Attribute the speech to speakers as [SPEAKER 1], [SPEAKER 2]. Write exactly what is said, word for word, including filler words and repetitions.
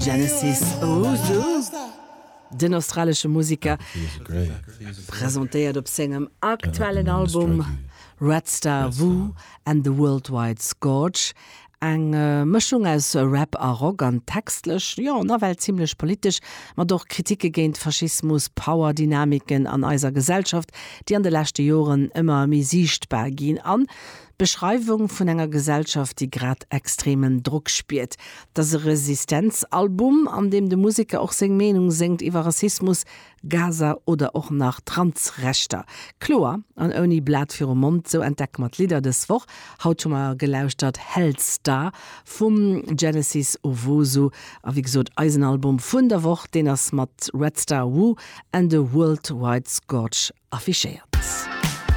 [SPEAKER 1] Genesis Owusu. Den australesche Museker presentéiert op sengem aktuellen Album Red Star Wu and the Worldwide Scourge eng äh, Mëschung aus Rap a Rock an textlech jo nawell zimmlech politesch, mat och Kritike géint Faschismus, Powerdynamiken an eiser Gesellschaft, déi an de leschte Joren ëmmer méi siichtbar ginn an Beschreiwung vun enger Gesellschaft, déi grad extremen Drock spiert. Dat ass e Resistenzalbum, an deem de Museker och seng Meenung séngt iwwer Rassismus, Gaza oder och nach Transrechter. Kloer an ouni Blat virum Mond, sou entdecke mer d'Lidder dës Woch. Haut hu mer gelauschtert Hellstar vum Genesis Owusu a wéi gesot eisen Album vun der Woch, deen ass mat Red Star Wu and the Worldwide Scourge affichéiert.